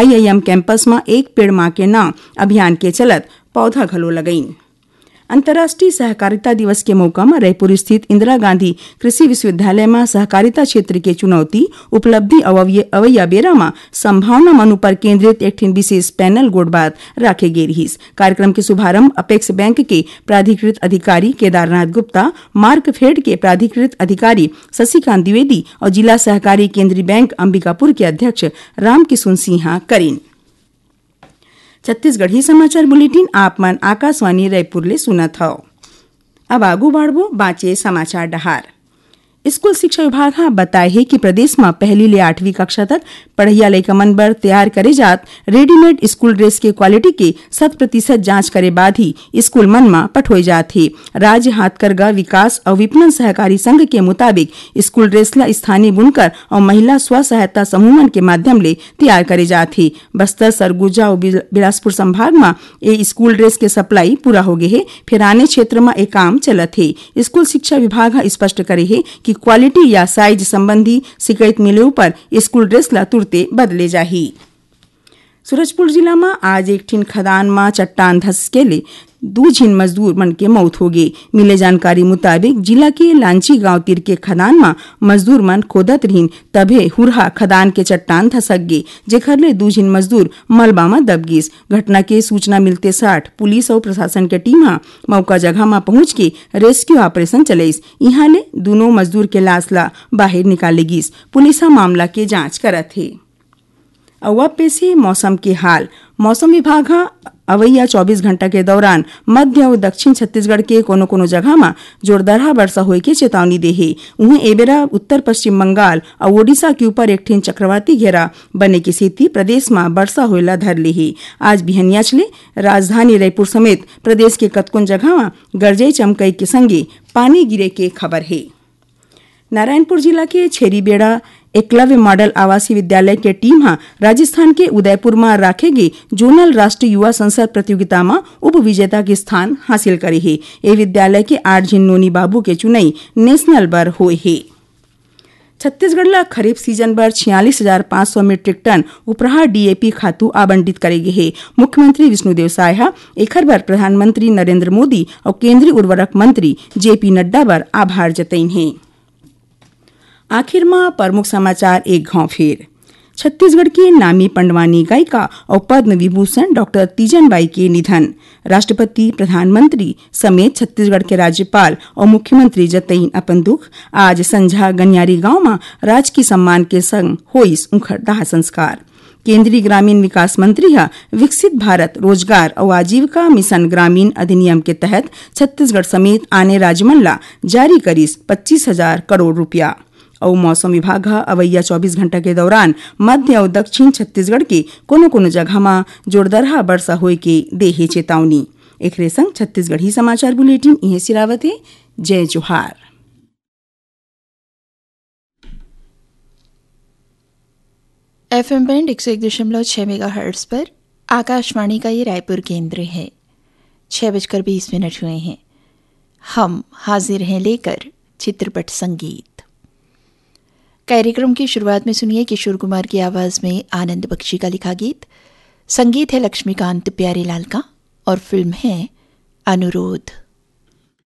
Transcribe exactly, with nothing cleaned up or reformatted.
IIM campus म एक पेड़ मां के नाम अभियान के चलत पौधा घलो लगइन। अंतर्राष्ट्रीय सहकारिता दिवस के मौका म रायपुर स्थित इंदिरा गांधी कृषि विश्वविद्यालय म सहकारिता क्षेत्र के चुनौती, उपलब्धि अउ अवय-, अवइया बेरा म संभावना मन उपर केंद्रित एक ठिन विशेष पैनल गोठबात राखे गे रिहिस। कार्यक्रम के शुभारंभ अपेक्स बैंक के प्राधिकृत अधिकारी केदारनाथ गुप्ता, मार्कफेड के प्राधिकृत अधिकारी शशिकांत द्विवेदी अउ जिला सहकारी केंद्रीय बैंक अंबिकापुर के अध्यक्ष रामकिशुन सिंह करिन। छत्तीसगढ़ी समाचार बुलेटिन आप मन आकाशवाणी रायपुर ले सुनत हव। अब आगू बढ़बो बांचे समाचार डहार। स्कूल शिक्षा विभाग ह बताए हे कि प्रदेश म पहली ले आठवीं कक्षा तक पढ़इया लइका मन बर तैयार करे जात रेडीमेड स्कूल ड्रेस के क्वालिटी के शत प्रतिशत जांच करे बाद ही स्कूल मन म पठोए जात हे। राज्य हाथकरघा विकास अउ विपणन सहकारी संघ के मुताबिक स्कूल ड्रेस ल स्थानीय बुनकर अउ महिला स्व सहायता समूह मन के माध्यम ले तैयार करे जात हे। बस्तर, सरगुजा अउ बिल-, बिलासपुर संभाग म ए स्कूल ड्रेस के सप्लाई पूरा होगे हे, फेर आने क्षेत्र म ए काम चलत हे। स्कूल शिक्षा विभाग ह स्पष्ट करे हे कि क्वालिटी या साइज संबंधी शिकायत मिले उपर स्कूल ड्रेस ल तुरते बदले जाही। सूरजपुर जिला म आज एक ठिन खदान म चट्टान धसके ले दू झिन मजदूर मन के मौत होगे। मिले जानकारी मुताबिक, जिला के लांची गांव तीर के खदान म मजदूर मन खोदत रिहिन, तभे हुरहा खदान के चट्टान धसक गे, जेखर ले दू झिन मजदूर मलबा म दब गिस। घटना के सूचना मिलते साठ पुलिस अउ प्रशासन के टीम ह मौका जगह म पहुंच के रेस्क्यू ऑपरेशन चलइस। इहां ले दूनों मजदूर के लाश ला बाहिर निकाले गिस। पुलिस ह मामला के जांच करत हे। अउ अब पेश हे मौसम के हाल। मौसम विभाग ह अवइया चौबीस घंटा के दौरान मध्य अउ दक्षिण छत्तीसगढ़ के कोनो-कोनो जगह म जोरदारहा वर्षा होए के चेतावनी दे हे। उहें, ए बेरा उत्तर पश्चिम बंगाल अउ ओडिशा के ऊपर एक ठिन चक्रवाती घेरा बने के सेती प्रदेश म वर्षा होए ला धर ले हे। आज बिहनियाच ले राजधानी रायपुर समेत प्रदेश के कतकोन जगह म गरजई चमकई के संगे पानी गिरे के खबर हे। नारायणपुर जिला के छेरीबेड़ा एकलव्य मॉडल आवासीय विद्यालय के टीम ह राजस्थान के उदयपुर म राखे गे जोनल राष्ट्रीय युवा संसद प्रतियोगिता म उप विजेता के स्थान हासिल करे हे। ए विद्यालय के आठ झिन नोनी बाबू के चुनई नेशनल बर होए हे। छत्तीसगढ़ ल खरीफ सीजन बर छियालीस हजार पाँच सौ मीट्रिक टन उपराहा डीएपी खातू आवंटित करे गे हे। मुख्यमंत्री विष्णुदेव साय ह एखर बर प्रधानमंत्री नरेंद्र मोदी अउ केंद्रीय उर्वरक मंत्री जेपी नड्डा बर आभार जतइन हे। आखिर म प्रमुख समाचार एक घांव फेर। छत्तीसगढ़ के नामी पंडवानी गायिका अउ पद्म विभूषण डॉक्टर तीजन बाई के निधन। राष्ट्रपति, प्रधानमंत्री समेत छत्तीसगढ़ के राज्यपाल अउ मुख्यमंत्री जतइन अपन दुख। आज संझा गनियारी गांव म राजकीय सम्मान के संग होइस उंखर दाह संस्कार। केंद्रीय ग्रामीण विकास मंत्री ह विकसित भारत, रोजगार अउ आजीविका मिशन ग्रामीण अधिनियम के तहत छत्तीसगढ़ समेत आने राज्य मन ला जारी करिस पच्चीस हजार करोड़ रुपया। अउ मौसम विभाग ह अवइया चौबीस घंटा के दौरान मध्य अउ दक्षिण छत्तीसगढ़ के कोनो-कोनो जगह म जोरदरहा बरसा होए के दे हे चेतावनी। एखरे संग छत्तीसगढ़ी समाचार बुलेटिन इहें सिरावत हे। जय जोहार। एफएम बैंड एक सौ एक दशमलव छह मेगाहर्ट्ज़ पर आकाशवाणी का ये रायपुर केंद्र है। छह बजकर बीस मिनट हुए हैं। हम हाजिर हैं लेकर चित्रपट संगीत। कार्यक्रम की शुरुआत में सुनिए किशोर कुमार की आवाज़ में आनंद बख्शी का लिखा गीत। संगीत है लक्ष्मीकांत प्यारेलाल का और फिल्म है अनुरोध।